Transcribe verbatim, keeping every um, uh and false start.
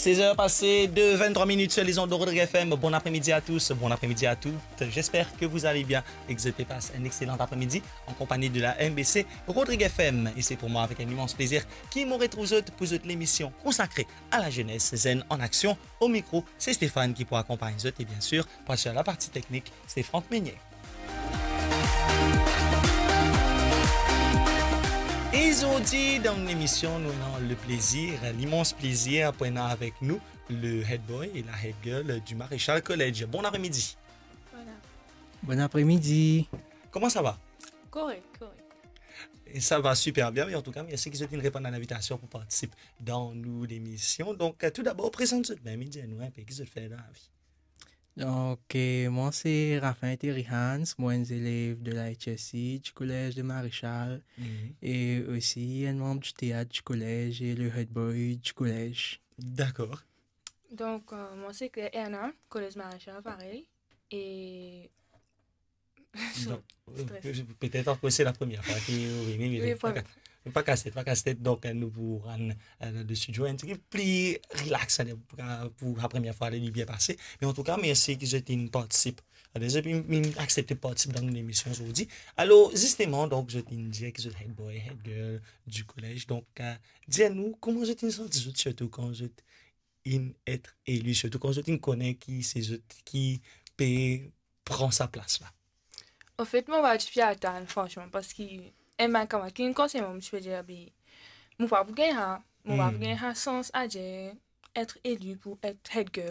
Seize heures passées de vingt-trois minutes sur les ondes de Rodrigue F M. Bon après-midi à tous, bon après-midi à toutes. J'espère que vous allez bien et que vous passez un excellent après-midi en compagnie de la M B C Rodrigue F M. Et c'est pour moi avec un immense plaisir ki mo retrouv zot pou zot lemision konsakre à la jeunesse, Zen en action. Au micro, c'est Stéphane qui pou akonpagn zot et bien sûr, pour assurer la partie technique, c'est Franck Meunier. E zordi dan lemision, nou ena le plaisir, l'immense plaisir pou ena avek nou le head boy et la head girl du Maréchal College. Bon après-midi. Voilà. Bon après-midi. Comment ça va ? Correct, correct. Et ça va super bien, mais en tout cas, merci ki zot inn reponn à l'invitation pour participer dans nou lemision. Donc, euh, tout d'abord, prezant zot mem, dir nou inpe ki zot fer dan lavi. Donc, euh, moi, c'est Raphaël Terry Hans, moi, un élève de la H S C du collège de Maréchal Mhm. et aussi un membre du théâtre du collège et le head boy du collège. D'accord. Donc, euh, moi, c'est Claire Erna, collège Maréchal, pareil. Et Donc, Stress. Euh, peut-être que c'est la première fois que vous venez, mais Oui, pa problème. Ka-, pa kas tet, pa kas tet. Donc, euh, nou pou rann, euh, le studio un petit peu plus relax, hein, pour, pour la première fois, li bien pase. Mais en tout cas, merci ki zot inn partisip. Alors, zot inn, inn aksepte partisip dan nou lemision zordi. Alors, justement, donc, zot inn dir ki zot head boy, head girl du collège. Donc, euh, dir nou, kouma zot inn santi zot, sirtou kan zot inn et eli, sirtou kan zot inn kone ki se zot ki pe pran sa plas la? Anfet, mo pa ti pe atann, fransman, parski enn bann kamarad ki inn konsey mwa, mo ti pe dir, be, mo pa pou gagn sa, mo pa pou Mm. gagn sa sans a dir et eli pou et head girl.